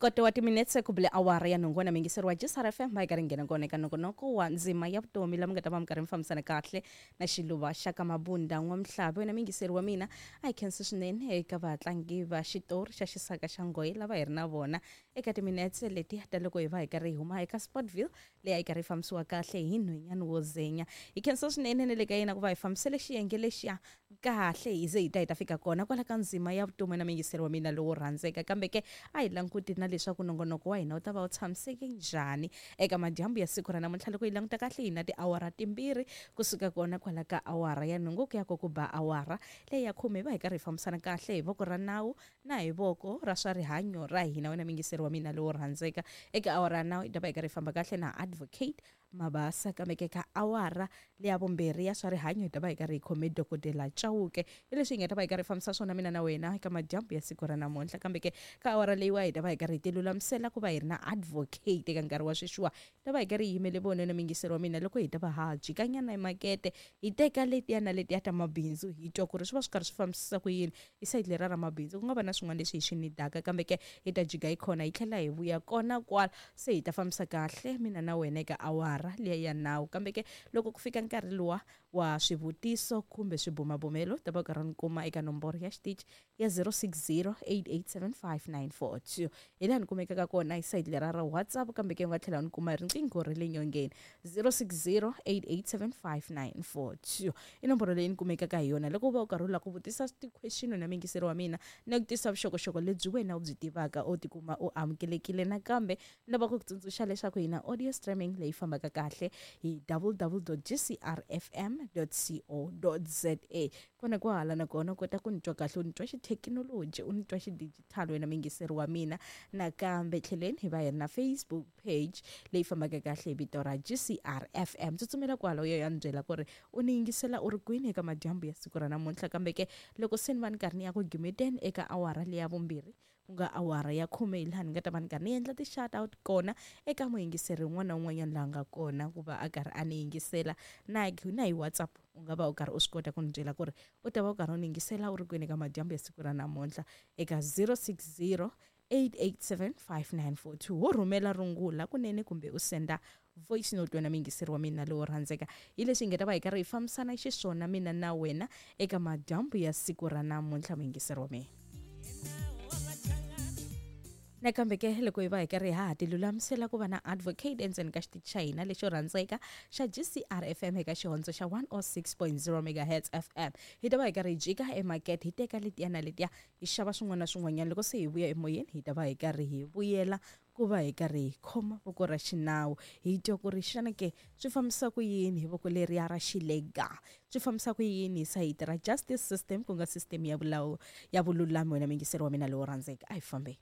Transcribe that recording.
Koto wa timinetse ku bile awara ya nhungu na mingiseri wa GCR FM va yi karhi nghena kona eka nongonoko wa ndzima ya vutomi la mi nga ta va mi karhi mi fambisana kahle na xiluva xa ka Mabunda N'wamhlavi. Wena mingiseri wa mina, a hi khensi swinene eka vatlangi va xitori xa xisaka xa nghohe lava hi ri na vona eka timinetse leti ta loko hi va hi karhi hi huma eka Sportville leyi a yi karhi yi fambisiwa kahle hi nhwenyani wo zenya. Hi khensa swinene na le ka yena ku va hi fambisele xiyenge lexiya kahle hi ze hi ta hi ta fika kona kwala ka ndzima ya vutomi na muyingiseri wa mina lowo rhandzeka. Kambe ke a hi languti na leswaku nongonoko wa hina wu ta va wu tshamiseke njhani eka madyambu ya siku ra namuntlha. Loko hi languta kahle hi na tiawara timbirhi kusuka kona kwala ka awara ya nhungu ku ya ko ku ba awara leyi ya khume, hi va hi karhi hi fambisana kahle hi voko ra nawu na hi voko ra swa rihanyo ra hina. Wena muyingiseri wa mina lowo rhandzeka, eka awara ya nawu hi ta va hi karhi hi famba kahle na Advocate Mabasa, kambe ke ka awara leya vumbirhi ya swa rihanyo hi ta va hi karhi hi khome Dokodela Chauke. Hi leswi hi nga ta va hi karhi hi fambisa swona mina na wena eka madyambu ya siku ra namuntlha. Kambe ke ka awara leyiwa hi ta va hi karhi hi tilulamisela ku va hi ri na Advocate eka nkarhi wa sweswiwa. Hi ta va hi karhi hi yimele vona na muyingiseri wa mina loko hi ta va ha jikanyana emakete, hi teka letiya na letiya ta mabindzu, hi twa ku ri swi va swi karhi swi fambisisa ku yini hi sayiti leriya ra mabindzu. Ku nga va na swin'wana leswi hi swi nidaka, kambe ke hi ta jika hi khona hi tlhela hi vuya kona kwala, se hi ta fambisa kahle mina na wena eka awara liya ya nawu. Kambe ke loko ku fika nkarhi luwa wa swivutiso kumbe swibumabumelo, ta va u karhi u ni kuma eka nomboro ya xitichi ya 0608875942. Hi laha ni kumekaka kona hi sayiti leriya ra WhatsApp, kambe ke u nga tlhela u ni kuma hi riqingho ra le nyongeni 0608875942 i nomboro leyi ni kumekaka hi yona loko u va u karhi u lava ku vutisa ti-question na muyingiseri wa mina na ku tisa vuxokoxoko lebyi wena u byi tivaka u tikuma u amukelekile. Nakambe ni lava ku ku tsundzuxa leswaku hi na audio streaming leyi fambaka kahle hi www.gcrfm.co.za. Kona kwahala na kona u kota ku ni twa kahle, u ni twa xithekinoloji, u ni twa xidijitali wena muyingiseri wa mina. Nakambe tlheleni hi va hi ri na Facebook page leyi fambaka kahle hi vito ra GCR FM. Tsutsumela kwala u ya ya ni byela ku ri u ni yingisela u ri kwini eka madyambu ya siku ra namuntlha. Kambe ke loko se ni va ni karhi ni ya ku gimeteni eka awara leya vumbirhi, ku nga awara ya khume, hi laha ni nga ta va ni karhi ni endla ti-shout out kona eka muyingiseri un'wana na un'wanyana laha nga kona ku va a karhi a ni yingisela. Na na hi WhatsApp u nga va u karhi u swi kota ku ni byela ku ri u ta va u karhi u ni yingisela u ri kwini eka madyambu ya siku ra namuntlha eka 060 887 5942. Wo rhumela rungula kunene kumbe u senda voice note wena muyingiseri wa mina lowo rhandzeka. Hi leswi hi nga ta va hi karhi hi fambisana xiswona mina na wena eka madyambu ya siku ra namuntlha, muyingiseri wa mina. Nakambe ke loko hi va hi karhi ha ha tilulamisela ku va na Advocate endzeni ka xitichi xa hina lexo rhandzeka xa GCR FM eka xihondzo xa 106.0 megahertz FM, hi ta va hi karhi hi jika emakete, hi teka letiya na letiya, hi xava swin'wana na swin'wanyana. Loko se hi vuya emoyeni hi ta va hi karhi hi vuyela ku va hi karhi hi khoma voko ra xinawu, hi twa ku ri xana ke swi fambisa ku yini hi voko leriya ra xilega, swi fambisa ku yini hi sayiti ra justice system, ku nga system ya vulawu ya vululami. Wena muyingiseri wa mina lowo rhandzeka, a hi fambeni.